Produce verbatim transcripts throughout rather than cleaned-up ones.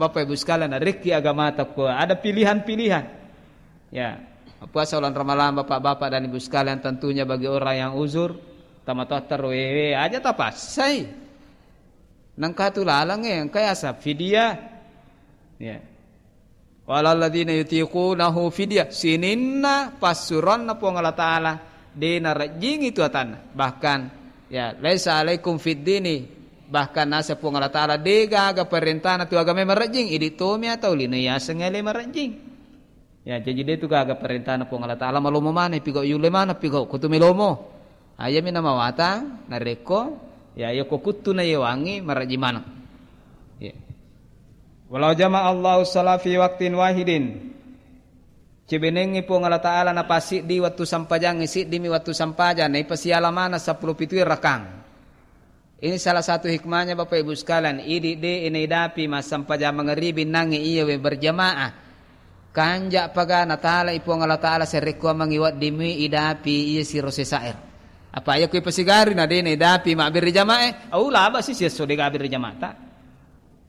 Bapak Ibu sekalian, rekki agamata ko ada pilihan-pilihan. Ya, puasa bulan Ramalang, Bapak-bapak dan Ibu sekalian, tentunya bagi orang yang uzur, tamatoatta roewe aja tapassai. Nengka tu lalang e, engka yasa fidyah. Ya. Walalladzina yutiqunahu fidyah. Sininna passuroanna Puang Allah Ta'ala, de narejjingi tu atanna. Bahkan, ya, laisa alaikum fid dini. Bahkan nasa Puang Allah Ta'ala, de gaga parentana tu agamae marejjing. Idi tomi atau lino yaseng ele marejjing. Ya, jaji de tu gaga parentana Puang Allah Ta'ala, malomo maneng, pigau yulle maneng, pigau kutu melomo. Ayami namawatang, narekko, ya, yoko kuttu na yewangi, marejjing maneng. Ya. Walau jama Allahu sala fi waktin wahidin. Cebenengngi Puang Allah Ta'ala napasiddi wettu sampajangnge, siddimi wettu sampajang, naipasiala maneng seppulo pitu rakang. Ini salah satu hikmahnya, Bapak Ibu sekalian, idi de inaidapi massempajang mangeribi nangnge iya we berjamaah. Kanja paga natalai Puang Allah Ta'ala serekkuammengngi weddimmi idapi iya siro sesaer. Apa iya kui pasigari na de naidapi mabbere jamaah, au laba si siesso de gabbere jamaah ta.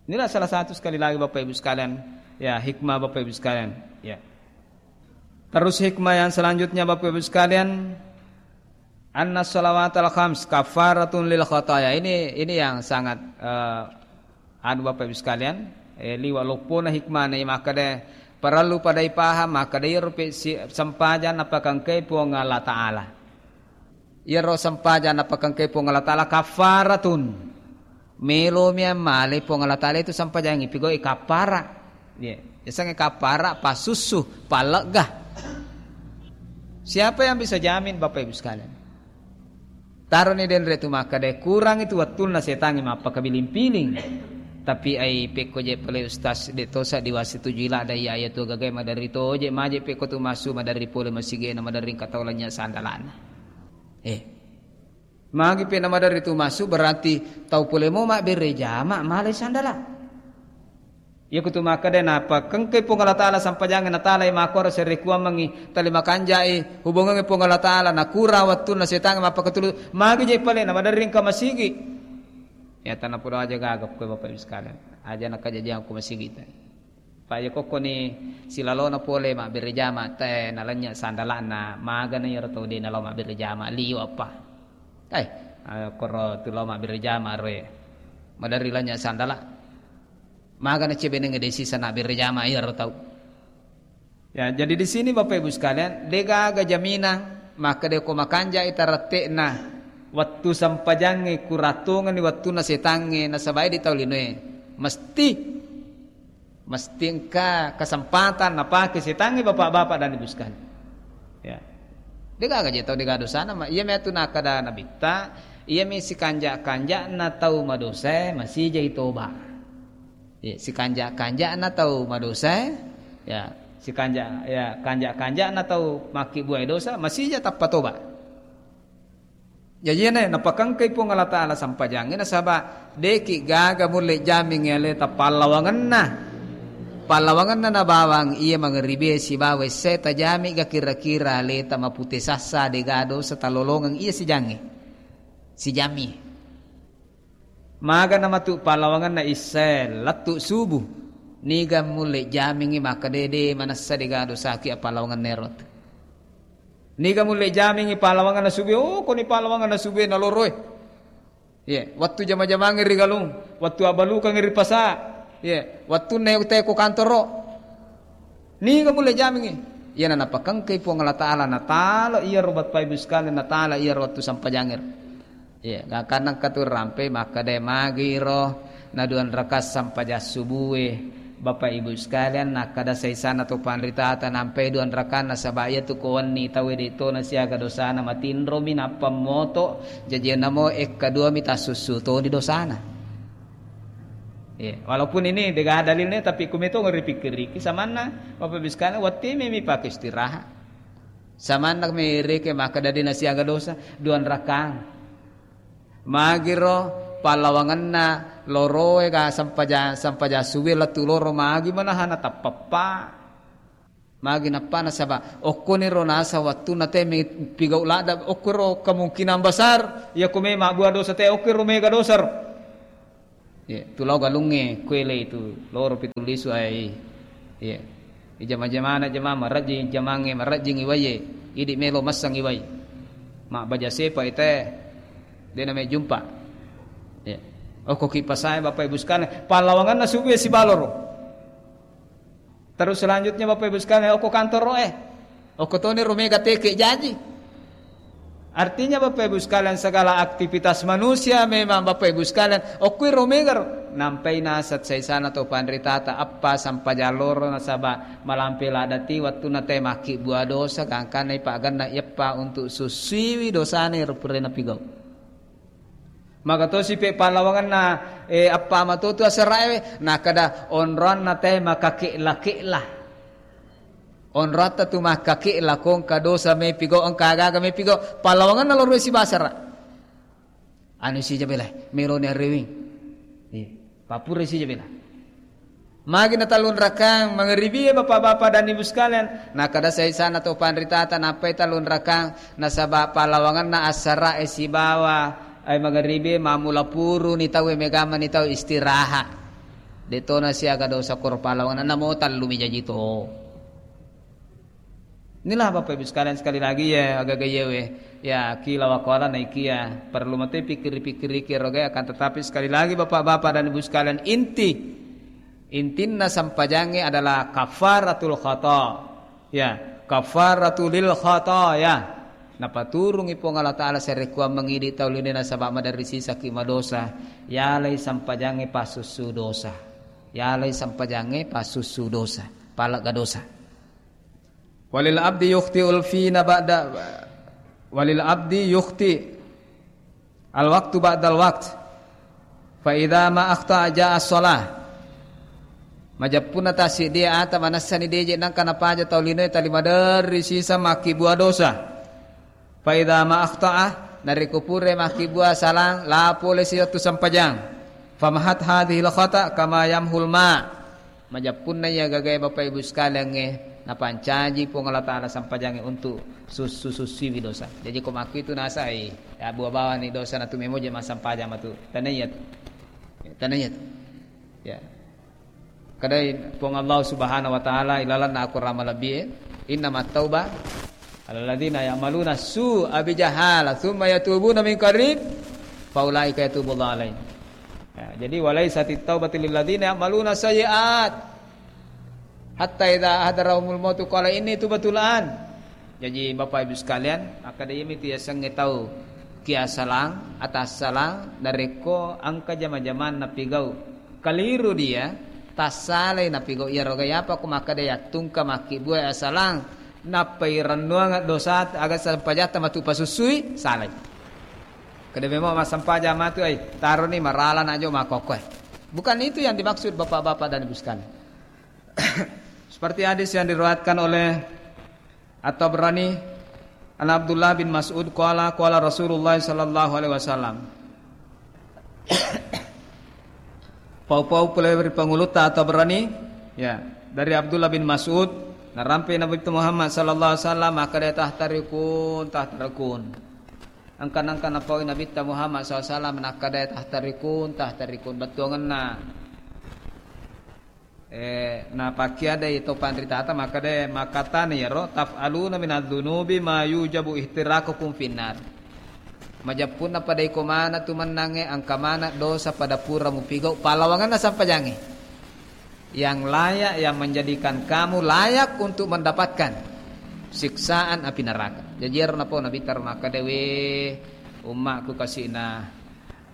Inilah salah satu, sekali lagi, Bapak Ibu sekalian, ya, hikmah, Bapak Ibu sekalian, ya. Terus hikmah yang selanjutnya, Bapak Ibu sekalian, anna salawatal khams kafaratun lil khataya. Ini, ini yang sangat, eh, anu, Bapak Ibu sekalian, eh, liwa loppona hikmah ne, maka de parellu pada ipaham, maka de iyaro pe si-, sempajang napakengkai Puang Allah Ta'ala. Iyaro sempajang napakengkai Puang Allah Ta'ala kafaratun. Melomi ammale Puang Allah Ta'ala itu sempajangngi pigau'i kaffara. Iya, yasengnge kaffara, passussu, pallegga. Siapa yang bisa jamin, Bapak Ibu sekalian? Taroni denre tu makkeda, kurang itu wettunna setangnge mappakabiling-piling. Tapi ai pekko je pale ustaz de tosa diwasi tuju ila dai aya tu gagai maderri toje maje pekko tu massu maderri pole masigena maderri engka tau lanya sandalana. Eh. Magi pe namaderri tu massu, berarti tau pole mo mabbere jama, malai sandala. Iya kutu makkeda, napakengkai Puang Allah Ta'ala sampajangnge, natalai makkoro serekuammengngi, tali makanjai hubungangnge Puang Allah Ta'ala, nakura wettunna setangnge mappakatulu, magi je pale namaderri engka masigi. Ya, tanapodo aja gaga koe Bapak Ibu sekalian. Aja nakajajiang ko masigi tai. Pa iya kokkoni silalona pole mabbere jama te nalenya sandalana, magana iyaro tau de nalao mabbere jama liwa pa. Eh, eh, koro tu lao mabbere jama roe. Maderri lenya sandala. Magana cebeneng de sisa nabbere jama iyaro tau. Ya, jadi di sini Bapak Ibu sekalian, de gaga jaminan makkeda ko makanja ita rette'na wettu sempajangnge kuratongeng ni wettunna setangnge nasaba di tau linoe. Mesti Mesti engka kesempatan napake setangnge bapak-bapak dan ibu sekalian. Ya. Degaga je tau dega dosana, ma-, iya metu nakkeda nabitta, iya mi sikanja-kanjana tau madosae masijai toba. Ya, sikanja-kanjana tau madosae, ya, sikanja-, ya, kanja-kanjana tau makkibbuae dosa masija tappa toba. Jaji iyana napakengkai Puang Allah Ta'ala sampajangnge nasaba deki gaga mulle jamingngi aleta pallawangenna. Pallawangenna nabawang iya mangeribe sibawa essae tajami ga kira-kira aleta mapute sassa dega dosa talolongeng iya sijangnge. Sijammi. Magana matu pallawangenna issae lettu subuh. Niga mulle jamingngi makkeda de manessa dega dosaki appallawangenna ero. Niga mulle jamingngi pallawangenna subue, oh, koni pallawangenna subue naloroe. Ye, wettu jama-jamangngi ri galung, wettu abbalukangngi ri pasa. Ye, wettunna te ko kantoro. Niga mulle jamingngi? Iyana napakengkai Puang Allah Ta'ala, natala iyaro bapak ibu sekalian, natala iyaro wettu sampajangngero. Iya, gangkanna engka tu rampe makkeda magiro na duan rakaat sampajang subue. Bapak Ibu sekalian, nakkeda saisana to panritata nampai duan rakaat nasaba iyatu ko wenni tauwe de tona siaga dosana matinromi nappa moto jaji namo ekka duami tassussu toni dosana. Iya, walaupun ini dega dalilnya tapi kumeto ripikkiriki samanna Bapak Ibu sekalian wettu memi pake istirahat. Samanna mi reke makkeda de nasiaga dosa, duan rakang. Magiro pallawangenna loroe ga sempaja-, sempaja suwe lettu loro magi manahana tappappa. Magi nappa nasaba okkoniro nasa wettunna te mi pigau ladda okkoro kemungkinan besar iya ko me mabbua dosa te okkoro mega dosa ro. Iya, tu lao galungnge kuele itu loro pitu lisu ai. Iya. Ijama-jamana jama marajing jamangnge marajing iwaie. Idi melo massang iwai. Mabbaja sepa ite. De name jumpa. Iya. Okko ki pasae Bapak Ibu sekalian, pallawanganna subuh sibaloro. Terus selanjutnya Bapak Ibu sekalian, okko kantor roe. Okko toni romega teke jaji. Artinya Bapak Ibu sekalian, segala aktivitas manusia memang Bapak Ibu sekalian, okkui romega ro. Nampai nasat saisana to panritata, appa sampajang loro nasaba malampe ladati wattunna te makkibua dosa, gangkanna ipaganna ieppa untuk sussiwi dosane ro purena pigau. Magatosi pe pallawanganna, eh, appa matotu asarae, nakada onroanna te makakela-kela. Onroatta tu makkakela, ko engka dosa mepigau, engka aga-aga mepigau, pallawanganna lorue sibasara. Anu sija bela, meloni arewing. Iya, papura sija bela. Magi na tallunrakang mangeribie Bapak-bapak dan Ibu sekalian, nakada saisana to panritata nappai tallunrakang, nasaba pallawanganna assarae sibawa ai mangeribie mamula puruni tau e, megamani tau istirahat. Detona siaga dosa koro pallawanganna, namo tallumi jaji to. Inilah Bapak Ibu sekalian, sekali lagi ya, agaga yewe. Ya, kila wakola naikia. Perlu mate pikir-pikir iki roga, akan tetapi sekali lagi Bapak-bapak dan Ibu sekalian, inti, intinna sampajangnge adalah kafaratul khata. Ya, kafaratul lil khata ya. Napaturungi Puang Allah Ta'ala serekuang mangidi tau lino nasaba maderri sisaki madosa. Yalai sampajangnge pasussu dosa. Yalai sampajangnge pasussu dosa. Palegga dosa. Walil abdi yukhti'ul fina ba'da, walil abdi yukhti al waktu ba'dal wakt. Fa idza ma akhta ja'a shalah. Majeppunna tassiddi ata manessani deje nangka napaja tau linoe tali maderri sisa makkibua dosa. Fa idza ma akhta'a, narekko pura makkibua salang, la pole siwettu sampajang. Famahat hadhil khata kama yamhul ma. Majeppunna iya gagae Bapak Ibu sekaliangnge, napancaji Puang Allah Ta'ala sampajangnge untuk sussu-sussuiwi dosa. Jaji ko makkuitu nasai, ya, bua bawani dosa natu memoje massampajang matu. Tanaiya tu. Tanaiya tu. Ya. Kadai Puang Allah Subhanahu wa Ta'ala ilalanna Al-Quran malebbi e, "Innamat tauba alalladzina ya'maluna su'a bijahala tsumma yatubuna min qarib fa ulaika yatubullahu alaihim." Ya, jadi, "Walaisatit taubatu lilladzina ya'maluna sayyi'at hatta idza hadarahumul mautu qala inni tubtu al-an." Jaji, Bapak Ibu sekalian, makkeda iyami tu yasengnge tau kiasalang, atassalang, narekko engka jama-jamanna pigau kaliru dia, tassalai napigau iyaroga, iyapa ko makkeda yattungka makkibua asalang, nappai rennuang dosa aga sampajatta matu pasussui, salai. Keda memang massampajang matu ai, taroni marala najo makkokkoe. Bukan itu yang dimaksud Bapak-bapak dan Ibu sekalian. Seperti hadis yang diriwayatkan oleh At-Tabrani, an Abdullah bin Mas'ud qala, qala Rasulullah sallallahu alaihi wasallam. Pau-pau pole ri pangulutta At-Tabrani, ya, dari Abdullah bin Mas'ud, narampe Nabi Muhammad sallallahu alaihi wasallam, makkeda, "Tahtarikun, tahtarikun." Engka-, engka napaui Nabitta Muhammad sallallahu alaihi wasallam, nakkeda, "Tahtarikun, tahtarikun." Bettuangenna. Eh, napakkiadai to panritata, makkeda, makkatana iyaro, "Taf'aluna minadz-dzunubi ma yujabu ihtiraqukum finnar." Majeppunna pada iko maneng tu mennangnge, engka maneng dosa pada pura mupigau, pallawangenna sampajangnge. Yang layak, yang menjadikan kamu layak untuk mendapatkan siksaan api neraka. Jaji ero napau Nabitta ro makkeda, "We, ummakku kasi'na."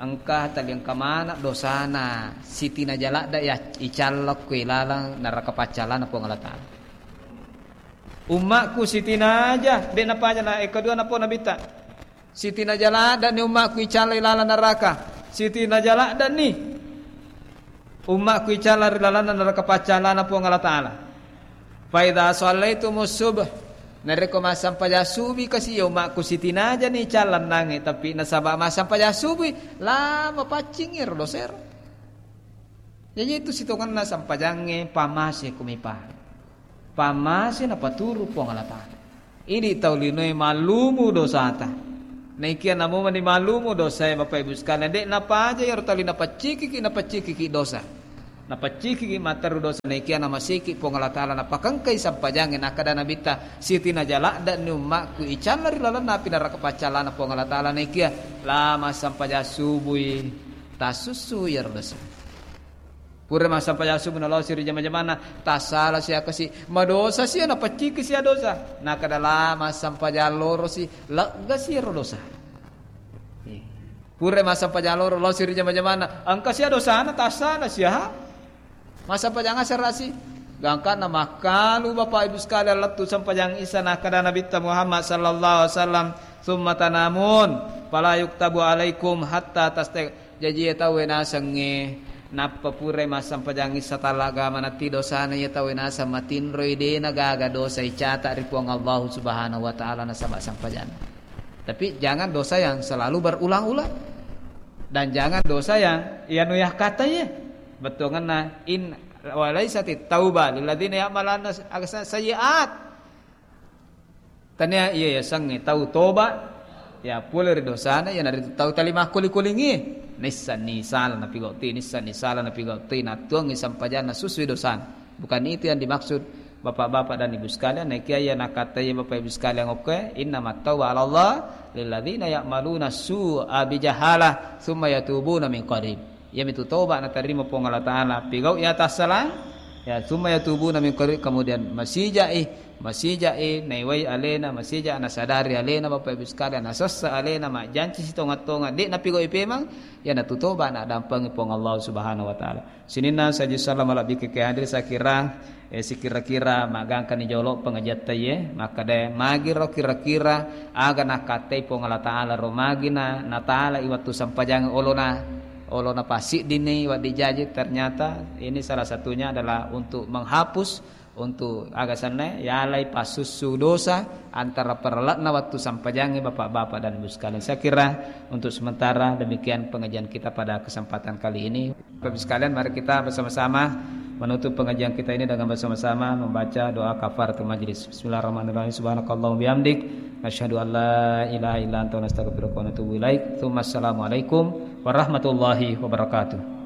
Engka tali engka maneng dosana, sitinaja ladde ya icallokko ilalang neraka paccalana Puang Allah Ta'ala. Ummakku sitinaja, de napaja na, eh, kedua napau Nabitta. Sitinaja ladde ni ummakku icalla ilalang neraka. Sitinaja ladde ni ummakku icalla ri lalanna neraka paccalana Puang Allah Ta'ala. Fa idza shallaitumus subh, narekko massampajang subuh kasi ya ummakku sitinaja ni callannangnge, tapi nasaba massampajang subuh, la mapaccing ero dosero. Jaji itu sitongenna sampajangnge pamase kumipa. Pamase napaturu Puang Allah Ta'ala. Idi tau linoe mallumu dosata. Naikia namo mani malumu dosae, Bapak Ibu sekalian, de' napaja iyaro tali napaccikiki, napaccikiki dosa. Napaccikiki matteru dosa, naikia namasiki Puang Allah Ta'ala napakengkai sampajangnge, nakkeda Nabitta, "Siti naja ladde'ni ummakku icalla ri lalenna api neraka paccallana Puang Allah Ta'ala, naikia la massampajang subui tasussu iyaro dosa." Pura massampajang subuh nalosi ri jama-jamanna, tassala sia kasi, madosa sia, napacciki sia dosa. Nakkeda la massampajang lorosi, leggasi ro dosa. Eh. Pura massampajang loro, losi ri jama-jamanna, engka sia dosana, tassala sia. Massampajang asarasi. Gangkanna makkalu Bapak Ibu sekalian lettu sampajang Isya, nakkeda Nabitta Muhammad sallallahu alaihi wasallam, "Tsumma tanamun, fala yuktabu alaikum hatta tastaiq." Jaji, iya tauwe nasengnge nappa purai massampajang Isya tallagama natti dosana, iya tauwe naseng matinroi, de' nagaga dosa icata ri Puang Allahu Subhanahu wa Ta'ala nasaba sampajang. Tapi jangan dosa yang selalu berulang-ulang. Dan jangan dosa yang iya nu yakkatai. Bettuanna in wa laisatit tauba lilladzina ya'maluna sayyi'at. Tania iya yasengnge tau toba, ya pole ri dosana, iyanaritu tau tali makkuli-kulingi. Nissenni sala napigautti, nissenni sala napigautti, nattuangngi sampajanna susui dosana. Bukan itu yang dimaksud Bapak-bapak dan Ibu sekalian. Naikia iya nakattai Bapak Ibu sekalian okkoe, innamat tauba 'alallah lilladzina ya'maluna su'a bijahalah tsumma yatubuna min qarib. Iyamitu toba natarima Puang Allah Ta'ala. Pigau iya tassalang, ya, tsumma yatubuna min qarib, kemudian masijai, masijai naiwai alena, masija nasadari alena, Bapak Ibu sekalian, nasessa alena, majjanci sitonga-tonga, de' napigau ipemang, iyanatu toba nadampengi Puang Allah Subhanahu wa Ta'ala. Sininna saji salama labbi ke hadir, saya kira, eh, sikira-kira magangkani jolo pengajiatta iye, makkeda magiro kira-kira aga nakattai Puang Allah Ta'ala ro, magina natala i wattu sampajang olona, olona pasiddini waddi jaji, ternyata ini salah satunya adalah untuk menghapus, untuk aga senna yalai pasussu dosa antara paralle'na wattu sampajangnge Bapak-bapak dan Ibu sekalian. Saya kira untuk sementara demikian pengajian kita pada kesempatan kali ini. Bapak Ibu sekalian, mari kita bersama-sama menutup pengajian kita ini dengan bersama-sama membaca doa kafaratul majlis. Bismillahirrahmanirrahim. Subhanakallahumma bihamdik, nasyhadu an la ilaha illa anta, nastaghfiruka wa natubu ilaik. Tsumma assalamualaikum warahmatullahi wabarakatuh.